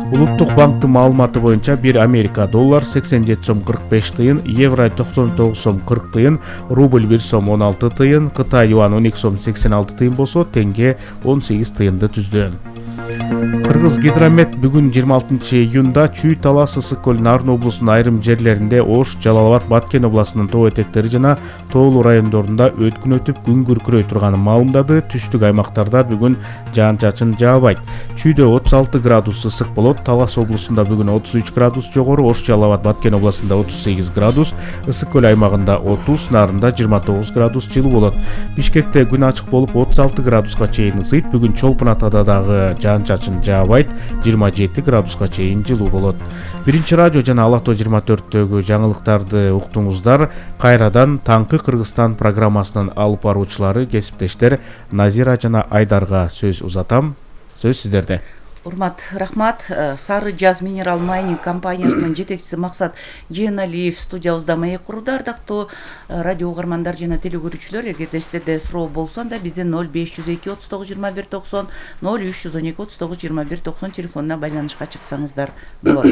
Улуттук банктын маалыматы боюнча 1 Америка доллар 87 сом 45 тыйын, евро 99 сом 40 тыйын, рубль 1 сом 16 тыйын, Кытай юан 12 сом 86 тыйын болсо, тенге 18 тыйынды түздү. Кыргыз гидромет бүгүн 26 июнда Чүй, Талас, Ысык көл, Нарын облусунун айрым жерлеринде, Ош, Жалал Абад, Баткен областынын тоо этектери жана тоолуу райондорунда өткүн өтүп күн күркүрөй турганын маалымдады. Түштүк аймактарда бүгүн жаан-чачын жаабайт. Чүйдө 36 градус ысык болот, Талас облусунда бүгүн 33 градус жогору, Ош, Жалал Абад, Баткен областында 38 градус, Ысык көл аймагында 30, Нарында 29 градус жылуу болот. Бишкекте күн ачык болуп 36 градуска чейин ысыйт. Бүгүн Чолпон Атада дагы жаан-чачын жаабайт, 27 градуска чейин жылуу болот. Биринчи радио жана Алато 24-төгү жаңылыктарды уктуңуздар. Кайрадан Таңкы Кыргызстан программасынын алып баруучулары, кесиптештер Назира жана Айдарга сөз узатам. Сөз сиздерде. Урмат, рахмат. Сары Жаз минерал майнинг компаниясынын жетекчиси Максат Жээналиев студиябызда маек курду. Ардактуу радио угармандар жана телекөрүүчүлөр, эгерде сиздерде суроо болсо анда биздин 0502 39 21 90 0312 39 21 90 телефонуна байланышка чыксаңыздар болот.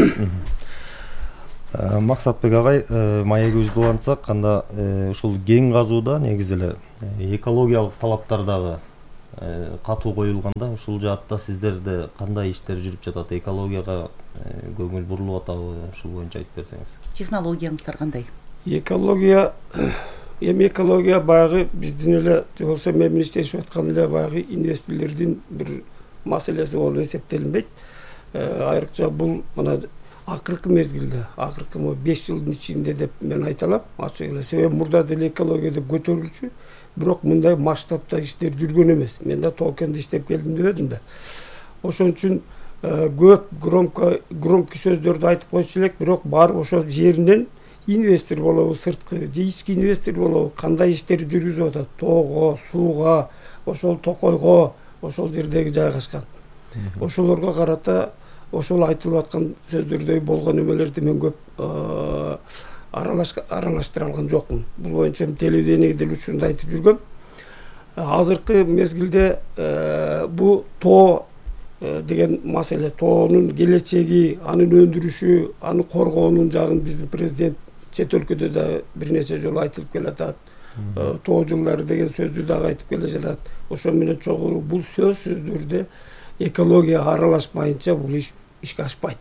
Максатбек агай, маегибизди улантсак, анда ушул кен казууда негизи эле экологиялык талаптар дагы катуу коюлганда, ушул жаатта сиздерде кандай иштер жүрүп жатат? Экологияга көңүл бурулуп атабы? Ушул боюнча айтып берсеңиз. Технологияңыздар кандай? Экология баягы биздин эле же болбосо мен иштешип аткан эле баягы инвесторлордун бир маселеси болуп эсептелинбейт. Айрыкча бул мына акыркы мезгилде, акыркы 5 жылдын ичинде деп мен айта алам. Ачык эле, себеби мурда деле экология деп көтөрүлчү, бирок мындай масштабта иштер жүргөн эмес. Мен да Тоокенде иштеп келдим дебедим да. Ошон үчүн көп громкий сөздөрдү айтып койчу элек, бирок барып ошол жеринен инвестор болобу, сырткы же ички инвестор болобу, кандай иштер жүргүзүп атат, тоого, сууга, ошол токойго, ошол жердеги жайгашкан. Ошолорго карата ошол айтылып аткан сөздөрдөй болгон эмелерди мен көп аралаштыра алган жокмун. Бул боюнча телевидениеге деле учурунда айтып жүргөм. Азыркы мезгилде бу тоо деген маселе, тоонун келечеги, анын өндүрүшү, аны коргоонун жагын биздин президент чет өлкөдө да бир нече жолу айтылып келатат. Тоо жылдары деген сөздү дагы айтып келе жатат. Ошо менен чогуу бул сөздөрдө экология аралашмайынча бул ишке ашпайт.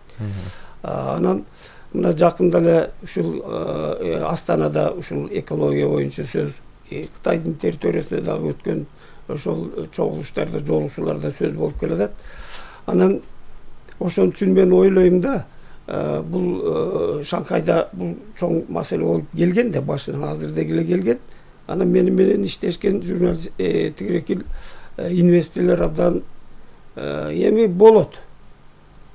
Анан мына жакында эле ушул Астанада ушул экология боюнча сөз, Кытайдын территориясында дагы өткөн ошол чогулуштарда, жолугушууларда сөз болуп келатат. Анан ошон үчүн мен ойлойм да, бул Шанхайда бул чоң маселе болуп келген да, башынан азыр деле келген. Анан менен иштешкен журналист тигирекил инвесторлор абдан эми болот.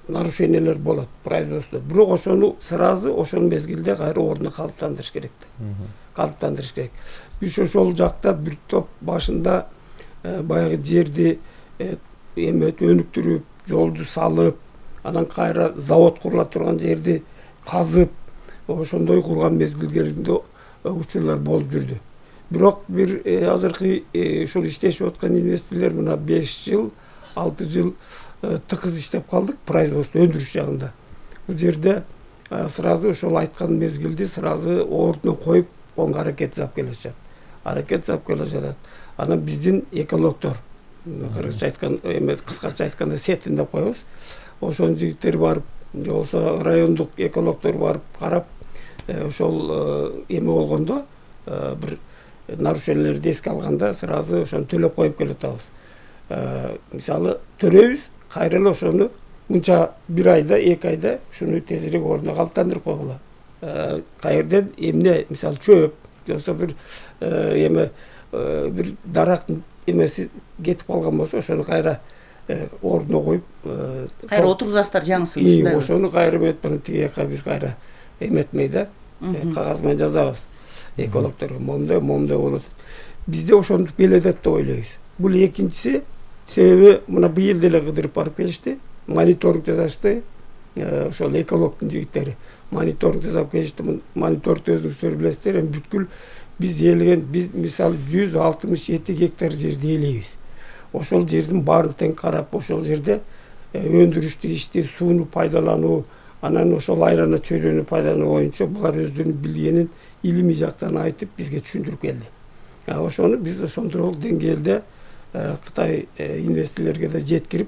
Нарушениялар болот производство. Бирок ошону сразу ошол мезгилде кайра ордуна калыптандырыш керек да. Калыптандырыш керек. Биз ошол жакта бир топ башында баягы жерди өнүктүрүп, жолду салып, анан кайра завод курула турган жерди казып, ошондой курган мезгилдеринде учурлар болуп жүрдү. Бирок бир азыркы ушул иштешип аткан инвесторлор мына 5 жыл, 6 жыл тыкыз иштеп калдык производство, өндүрүш жагында. Бул жерде сразу ошол айткан мезгилди сразу ордуна коюп, онго аракет жасап келишет. Анан биздин экологдор, кыргызча айткан, кыскача айтканда сетин деп коебуз. Ошол жигиттер барып, же болбосо райондук экологдор барып карап, ошол эме болгондо, бир нарушениялерди эске алганда сразу ошону төлөп коюп келатабыз. Мисалы төрөйбүз, кайра эле ошону мынча бир айда, 2 айда ушуну тезирээк ордуна калыптандырып койгула. Кайерден эмне, мисалы чөп, же болбосо бир бир дарактын эмеси кетип калган болсо, ошону кайра ордуна коюп, кайра отургузасыздар жаңысын ушундай. Ошону кайра эметпен тиги жака биз кайра эметмей да, кагаз менен жазабыз экологдорго, момундай болот. Бизде ошентип келетет деп ойлойбуз. Бул экинчиси, себеби мына быйыл деле кыдырып барып келишти, мониторинг жасашты, ошол экологдун жигиттери мониторинг жасап келишти. Мониторингди өзүңүздөр билесиздер, бүткүл биз ээлеген, биз мисалы 167 гектар жерди ээлейбиз. Ошол жердин баарын тең карап, ошол жерде өндүрүштү ишти, сууну пайдалануу, анан ошол айрана чөйрөнү пайдалануу боюнча булар өздөрүнүн билгенин илимий жактан айтып бизге түшүндүрүп келди. Ошону биз ошондой деңгээлде Кытай инвесторлорго да жеткирип,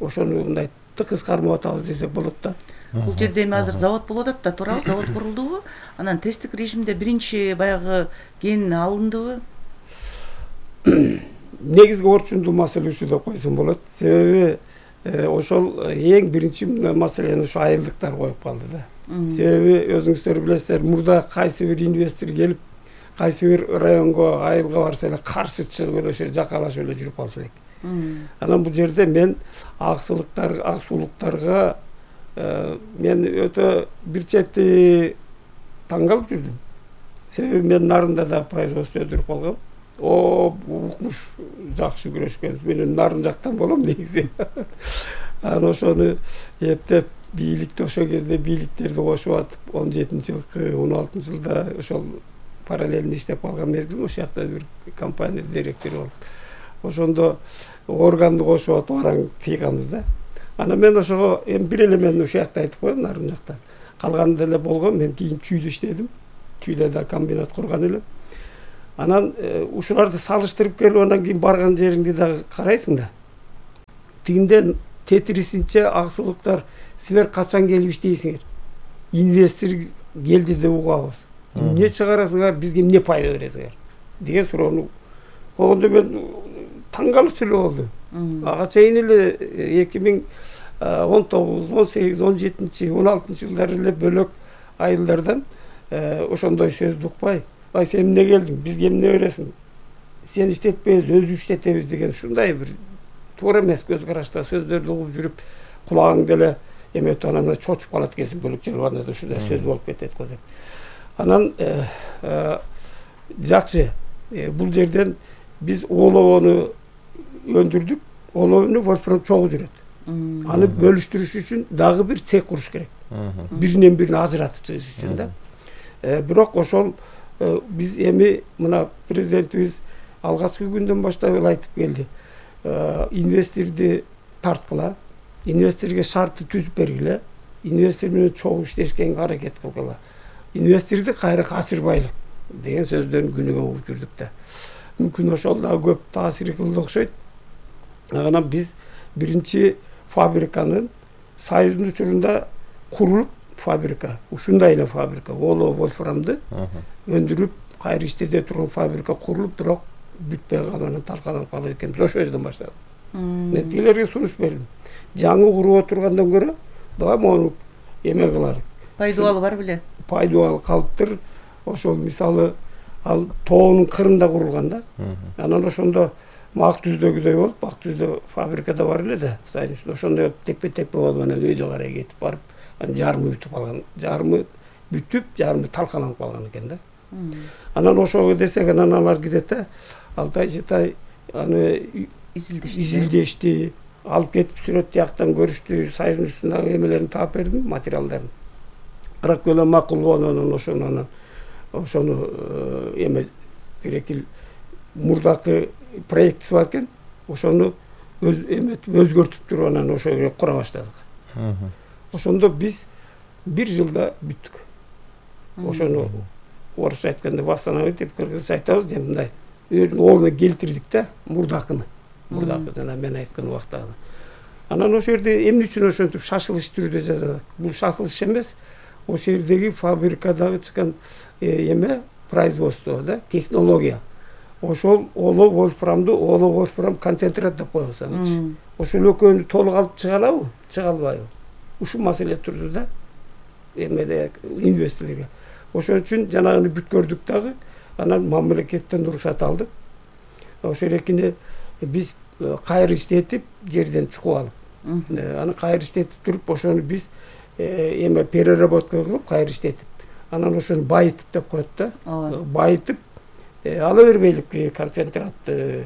ошону мындай тыкыз кармап атабыз десек болот да. Бул жерде эми азыр завод болуп атат да, туурабы? Завод курулдубу? Анан тесттик режимде биринчи баягы кен алындыбы? Негизги орчундуу маселе ушу деп койсом болот. Себеби ошол эң биринчи маселени ушу айылдыктар коюп калды да. Себеби өзүңүздөр билесиздер, мурда кайсы бир инвестор келип, кайсы бир районго, айылга барса эле каршы чыгып эле ошо жакалашып эле жүрүп калса элек. Анан бул жерде мен аксуулуктарга мен өтө бир чети таң калып жүрдүм. Себеби мен нарында да производство өндүрүп калгам. Укмуш жакшы күрөшкөн. Мен нарын жактан болом негизи. Анан ошону эптеп бийликти ошол кезде бийликтерди кошуп атып 17-жылкы 16-жылда ошол параллельно иштеп калган мезгил ошол жакта бир компания директору болуп ошондо органды кошуп атып араң тийганбыз да. Анан мен ошого эми бир эле мен ушул жакта айтып коеюн, нарын жактан калганы деле болгон. Мен кийин Чүйдө иштедим, Чүйдө да комбинат курган элем. Анан ушуларды салыштырып келип анан кийин барган жериңди дагы карайсың да. Тигинден тетрисинче аксылыктар силер качан келип иштейсиңер? Инвестор келди деп угабыз. Эмне чыгарасыңар, бизге эмне пайда бересиңер деген суроону койгондо мен таң калып эле болдум. Ага чейин эле 2019, 18, 17, 16-жылдары эле бөлөк айылдардан ошондой сөздү укпай, ай сен эмне келдиң, бизге эмне бересиң, сен иштетпейбиз, өзү иштетебиз деген ушундай бир туура эмес көз карашта сөздөрдү угуп жүрүп кулагың деле эметип анан чочуп калат экенсиң, бөлөк жылганда да ушундай сөз болуп кетет го деп. Анан жакшы, бул жерден биз оловону өндүрдүк. Оловону вольфрам чогуу жүрөт. Аны бөлүштүрүш үчүн дагы бир цех куруш керек. Биринен бирине ажыратып чыгыш үчүн да. Бирок ошол биз эми мына президентибиз алгачкы күндөн баштап эле айтып келди. Инвесторду тарткыла, инвесторго шартты түзүп бергиле, инвестор менен чогуу иштешкенге аракет кылгыла. Инвесторду кайра качырбайлык деген сөздөрүн күнүгө угуп жүрдүк да. Мүмкүн ошол да көп таасир кылды окшойт. Анан биз биринчи фабриканын Союздун учурунда курулуп фабрика, ушундай эле фабрика, олоо вольфрамды өндүрүп кайра иштете турган фабрика курулуп, бирок бүтпөй калып анан талкаланып калып экенбиз. Ошол жерден баштадык. Мен тилерге сунуш бердим. Жаңы куруп отургандан көрө давай мону эме кылайлык. Пайдубалы бар беле? Пайдубалы калыптыр. Ошол мисалы ал тоонун кырында курулган да. Анан ошондо Ак Түздөгүдөй болуп, Ак Түздө фабрикада бар эле да. Ошондой текпе-текпе болуп анан өйдө карай кетип барып, анан жарымы бүтүп калган. Жарымы бүтүп, жарымы талкаланып калган экен да. Анан ошого десек, анан алар кидете, Алтай Жетай аны изилдешти, алып кетип сүрөт тияктан көрүштү, Союздун үстүндөгү эмелерин таап бердим, материалдарын. Кырак эле макул болду, анан ошону эме тирекил мурдакы проектиси бар экен, ошону өзгөртүп туруп анан ошого кура баштадык. Ошондо биз бир жылда бүттүк. Ошону орусча айтканда восстановить деп, кыргызча айтабыз деп мындай ордуна келтирдик да, мурдакыны. Мурдакы жана мен айткан убактагы. Анан ошол жерде эмне үчүн ошентип шашылыш түрдө жазат? Бул шашылыш эмес, ошол жердеги фабрикадагы чыккан эме производство да, технология. Ошол олоо вольфрам концентрат деп коебуз. Ошол экөөнү толук алып чыга алабы, чыга албайбы? Ушул маселе турду да. Эмеде инвесторлорго. Ошон үчүн жанагыны бүткөрдүк дагы, анан мамлекеттен уруксат алдык. Ошол экини биз кайра иштетип, жерден чукуп алып, аны кайра иштетип туруп, ошону биз эме переработка кылып кайра иштетип, анан ошону байытып деп коет да. Байытып ала бербейлик концентратты.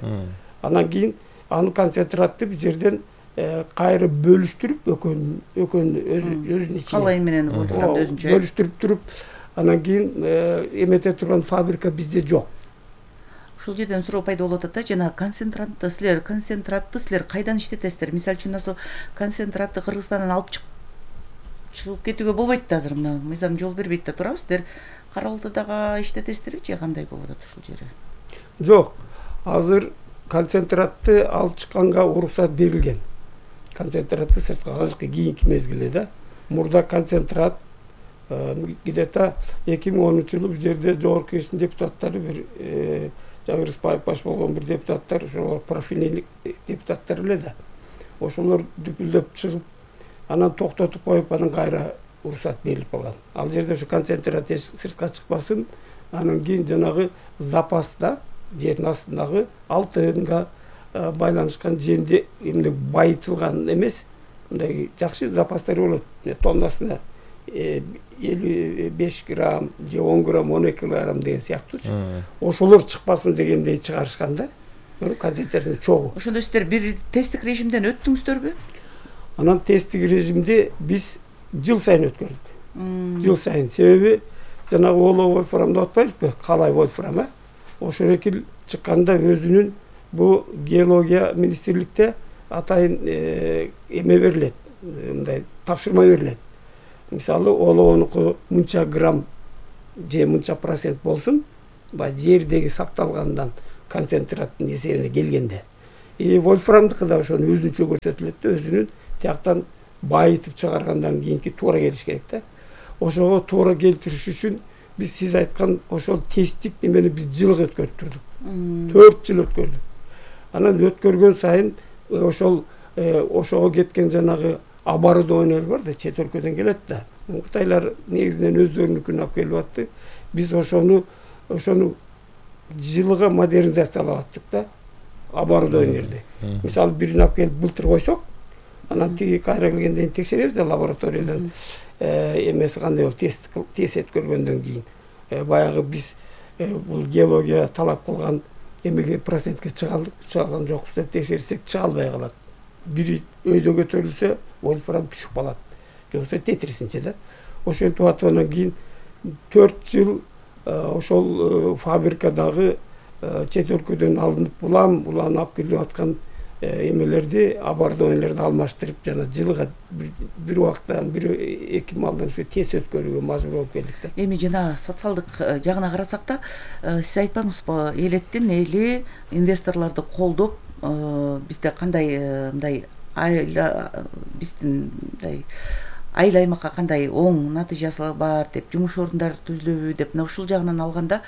Анан кийин аны концентратты биз жерден кайра бөлүштүрүп, өзүнүн ичине калай менен өзүнчө бөлүштүрүп туруп, анан кийин эмете турган фабрика бизде жок. Ушул жерден суроо пайда болуп атат да, жана концентратты силер кайдан иштетесиздер? Мисалы үчүн ошо концентратты Кыргызстандан алып чыгып кетүүгө болбойт да, азыр мына мыйзам жол бербейт да, туурабы? Сиздер Кара Алтайдагы иштетесиздерби же кандай болуп атат ушул жери? Жок, азыр концентратты алып чыкканга уруксат берилген. Концентратты сыртка азыркы кийинки мезгилде да. Мурда концентрат где-то 2010-жылы бул жерде жогорку кеңештин депутаттары бир жаңы Рыспаев баш болгон бир депутаттар, ошолор профильный депутаттар эле да. Ошолор дүпүлдөп чыгып, анан токтотуп коюп, анан кайра уруксат берилип калган. Ал жерде ошо концентрат сыртка чыкпасын, анан кийин жанагы запаста жердин астындагы алтынга байланышкан жерде эмне байытылган эмес, мындай жакшы запастар болот. Тоннасына 55 грамм же 10 грамм, 12 грамм деген сыяктуучу. Ошолор чыкпасын дегендей чыгарышкан да. Концентраттын чогуу. Ошондо сиздер бир тесттик режимден өттүңүздөрбү? Анан тесттик режимди биз жыл сайын өткөрдүк. Жыл сайын. Себеби жанагы олоо вольфрам деп атпайбызбы? Калай вольфрам, ошол экил чыкканда өзүнүн бу геология министрликте атайын эме берилет, мындай тапшырма берилет. Мисалы олоонуку мынча грамм же мынча процент болсун, баягы жердеги сакталгандан концентраттын эсебине келгенде. Вольфрамдыкы да ошону өзүнчө көрсөтүлөт да, өзүнүн тияктан байытып чыгаргандан кийинки туура келиш керек да. Ошого туура келтириш үчүн биз сиз айткан ошол тесттик немени биз жылга өткөрүп турдук. 4 жыл өткөрдүк. Анан өткөргөн сайын ошол ошого кеткен жанагы оборудованиялар бар да, чет өлкөдөн келет да. Кытайлар негизинен өздөрүнүкүн алып келип атты. Биз ошону жылга модернизациялап аттык да, оборудованияларды. Мисалы бирин алып келип былтыр койсок, анан тиги кайра келгенден кийин текшеребиз да лабораториядан эмеси кандай болуп тест өткөргөндөн кийин. Баягы биз бул геология талап кылган эмеге процентке чыгалган жокпуз деп текшерсек чыга албай калат. Бири өйдө көтөрүлсө вольфрам түшүп калат. Жоксо тетрисинче да. Ошентип аткандан кийин 4 жыл ошол фабрикадагы чет өлкөдөн алынып улам алып келип аткан эмелерди, оборудованияларды алмаштырып, жана жылга бир убакта бир 2 малдан ушу тест өткөрүүгө мажбур болуп келдик да. Эми жана социалдык жагына карасак да, сиз айтпадыңызбы, элеттин эли инвесторлорду колдоп, бизде кандай мындай биздин мындай айыл аймакка кандай оң натыйжасы бар деп, жумуш орундар түзүлөбү деп, мына ушул жагынан алганда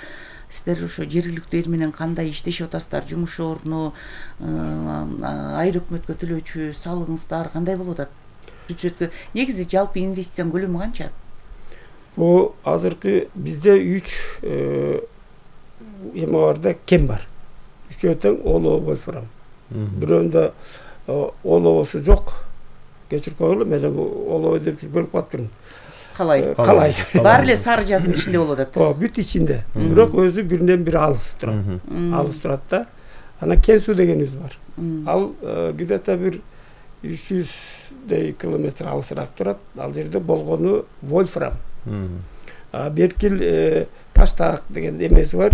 сиздер ошо жергиликтүү эл менен кандай иштешип атасыздар? Жумуш орну, айыл өкмөткө төлөөчү салыгыңыздар кандай болуп атат? Бюджетке негизи жалпы инвестициянын көлөмү канча? Бул азыркы бизде 3 эме бар да, кем бар. Үчөө тең олоо вольфрам. Бирөөндө олоосу жок. Кечирип койгула, мен олоо деп бөлүп калыптырмын. Калай. Баары эле сары жаздын ичинде болуп атат. Бүт ичинде. Бирок өзү биринен бири алыс турат. Алыс турат да. Анан кен суу дегенибиз бар. Ал где-то бир 300 километр алысыраак турат. Ал жерде болгону вольфрам. Беркил таштак деген эмеси бар.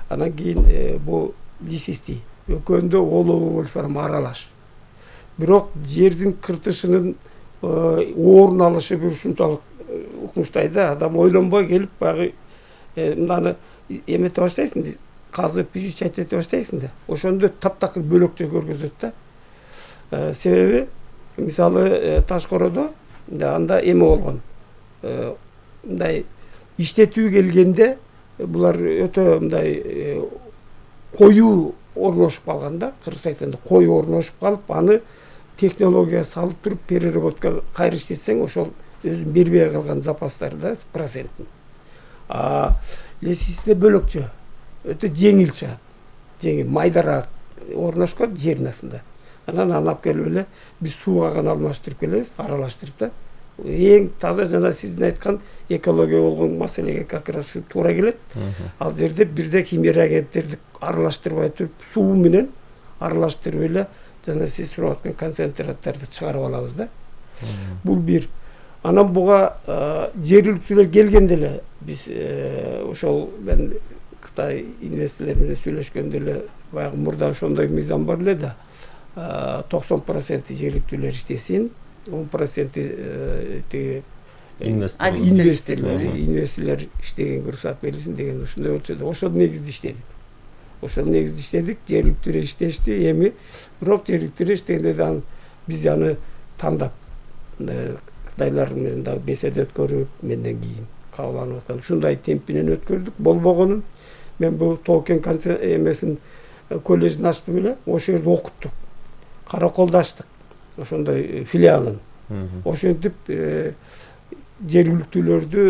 Анан кийин бу лисисти. Экөөндө олоо вольфрам аралаш. Бирок жердин кыртышынын орун алышы бир ушунчалык укмуштай да, адам ойлонбой келип баягы мынаны эмете баштайсың, казып изучать эте баштайсың да. Ошондо таптакыр бөлөкчө көргөзөт да. Себеби мисалы Ташкоородо анда эме болгон. Мындай иштетүү келгенде булар өтө мындай коюу орношуп калган да, кыргызча айтканда коюу орношуп калып, аны технология салып туруп переработка кайра иштетсең, ошол өзүн бербей калган запастар да процентин. Лесисте бөлөкчө, өтө жеңил чыгат. Жеңил, майдараак орношкон жердин астында. Анан алып келип эле биз сууга гана алмаштырып келебиз, аралаштырып да. Эң таза жана сиздин айткан экология болгон маселеге как раз ушу туура келет. Ал жерде бирде химия реагенттерди аралаштырбай туруп, суу менен аралаштырып эле жана сиз сурап аткан концентраттарды чыгарып алабыз да. Бул бир. Анан буга жергиликтүүлөр келгенде эле биз ошол мен Кытай инвесторлор менен сүйлөшкөндө эле баягы мурда ошондой мыйзам бар эле да. 90% жергиликтүүлөр иштесин, 10% тиги инвесторлор иштегенге уруксат берилсин деген ушундай болчу да. Ошол негизде иштедик. Жергиликтүүлөр иштешти. Эми бирок жергиликтүүлөр иштегенде биз аны тандап Кытайлар менен дагы беседа өткөрүп, менден кийин кабыл аткан ушундай темп менен өткөрдүк. Болбогонун мен бул Тоо-Кен эмесин колледжин ачтым эле, ошол жерде окуттук. Караколдо ачтык. Ошондой филиалын. Ошентип жергиликтүүлөрдү